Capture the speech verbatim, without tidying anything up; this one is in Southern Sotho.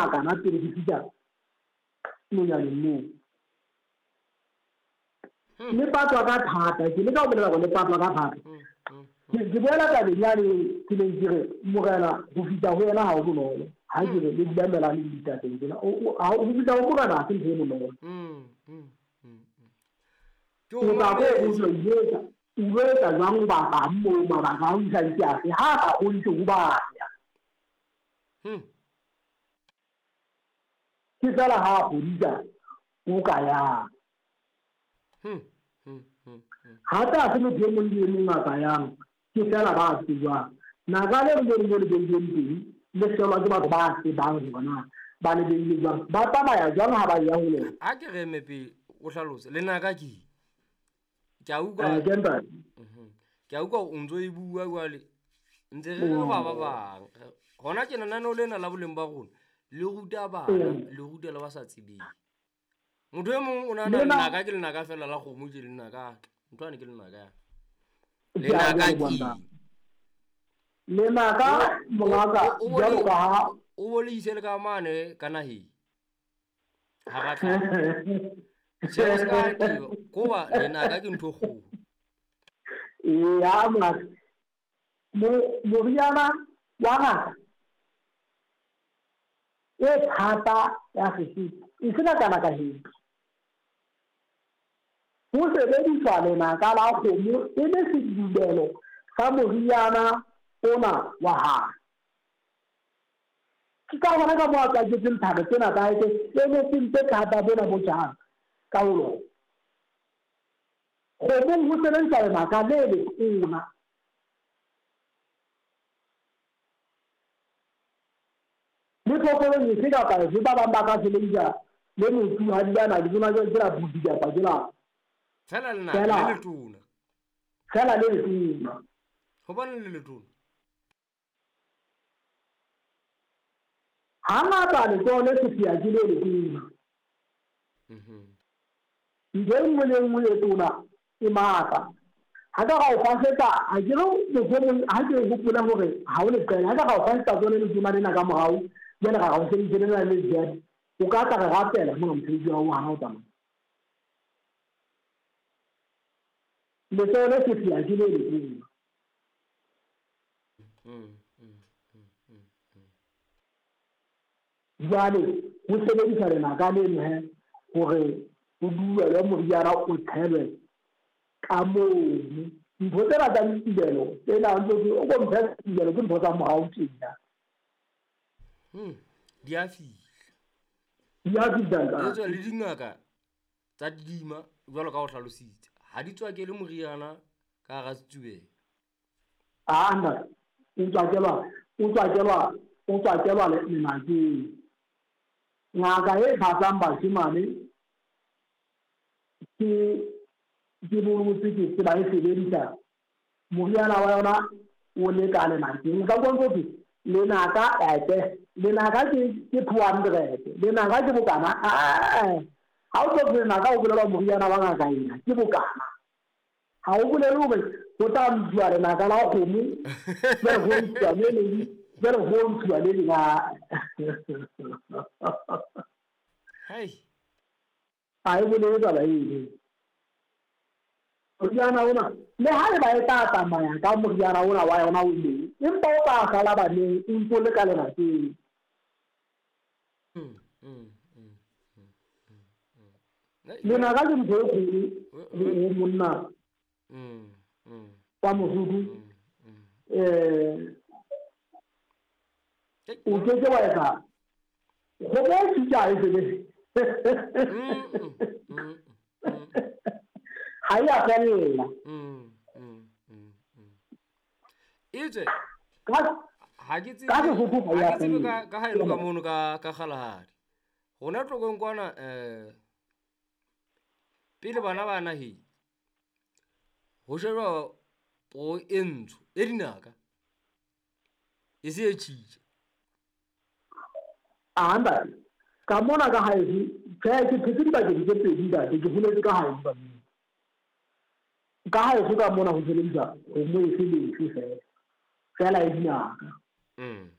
makana pele ke fihla nonyaneng moo. Le patwa ka thata, ke leka ho bolela hore le patwa ka thata. Ke boela tabeng yane ke neng ke re morena ho fihla ho yena ha ho bonolo. Ha ke re le dula melane le ditateng tsena, ho fihla ho morena ha se ntho e bonolo. O tla ko o tlo etsa, o lo etsa jwang o batlang moo mabaka a ho isa ke afe, ha a ka kgodise ho baya. Ke feela ha a kgodisa o ka yang. Hape ha se motho e mong le e mong a ka yang, ke feela ba tsejwang. Naka le leng le le beilweng teng, le hlolwa ke batho ba tsebang hore na ba le beile jwang, ba tsamaya jwang ha ba ya ho lona. Ha ke re eme pele o hlalose, lenaka ke eng? Ke a utlwa, Eh, ke ntate. ke a utlwa o ntso e bua jwale, ntse re re ba ba bang. Hona tjena lenaneo lena la boleng ba rona le ruta bana, le ruta le ba sa tsebeng. Motho e mong o nahana lenaka ke lenaka fela la kgomo, ke lenaka, ntho ane ke lenaka ya. Lenaka ke eng? Lenaka mongaka jwalo ka ha o bo le ise le ka mane ka naheng. Ha ra tla. Seo se ka teba, koba lenaka ke ntho e kgolo. Eya, mongaka. Mo-, moriana wa ngaka e thata ya Sesotho e se nakana ka heto. Ho sebediswa lenaka la kgomo e le sedubelo sa moriana ona wa hae. Ke ka hona ka moo a tswaketseng thabo tsena tsa hae tse emetseng tse thata bona bo jang ka ho lona. Kgomong ho sebediswa lenaka le letona. Le phoofolong efe kapa efe, ba bang ba ka sebedisa le motsu ha di ana, ke tsona ke la budi kapa ke la Fela lenaka Fela le letona. Fela le letona. Hobaneng le letona? Hangata letsoho le sefia ke le letona. Mhm. Ntho e nngwe le e nngwe e tona e matla. Ha ka ra o fasetsa, ha ke re mohlomong ha ke hopole hore ha o leqele, ha ka ra o fasetsa tsone letona lena ka morao, jwale ra ra o sebedise lena le jwale, o ka tla re rapela mona mosebetsi wa hao hana o tsamaya. Letsoho le sefia ke le letona. Mm, mm, mm, mm, mm. Jwale ho sebedisa lenaka leno he hore o duelwe moriana o tshelwe ka mono. Ntho tsena tsa ditubelo tsena ntse ke o ko mphe ditubelo ke ntho tsa morao tjena. Hmm, di a fihla. Di a fihla, ntate. Etswe le dingaka tsa didima jwalo ka ho hlalositse, ha di tswakele moriana ka hara setsubelo. Ah, ntate, o tswakelwa, o tswakelwa, o tswakelwa lenakeng. Ngaka e phatsang bashemane ke, ke bolotse ke tseba e sebedisa moriana wa yona o le ka lenakeng. Nka utlwa ntse thwe lenaka ete, lenaka ke, ke two hundred, lenaka ke bokana. Ah, ha o tlo lenaka o bolelwa moriana wa ngaka ena ke bokana. Ha o bolele hore ho tla ntshuwa lenaka la kgomo, jwale ho ntshuwa le leng, jwale ho ntshuwa le leng. Hei. Ha e bolele taba eno. Moriana ona, le ha eba e tla tsamaya ka moriana ona wa yona o mong, empa o tla sala baneng o ntso le ka lenakeng. Mm, mm, mm, mm, mm, mm. Lenaka ke ntho e kgolo ho monna Mm, mm. wa Mosotho. Mm, mm. Eh, o ke ke wa etsa kgomo e sitja e sebetse. Mm, mm, mm, mm. Ha e a fella. Mm, mm, mm, mm. Etswe, Ka ha ke tsebe, ka Sesotho ha e a ha ke tsebe fella. ka, ka ha e le ka mono ka, ka Kgalagadi. Rona Tlokong kwana, eh, pele bana ba naheng, ho shejwa poo e ntsho, e dinaka, e se e tjhitja. Ah, ntate, ka mona ka haeso, tjhe, ke phetse dibakeng tse pedi, ntate, ke holetse ka haeso ka mona. Ka haeso ka mona ho sebedisa kgomo efe le efe fela, fela e dinaka. Mm.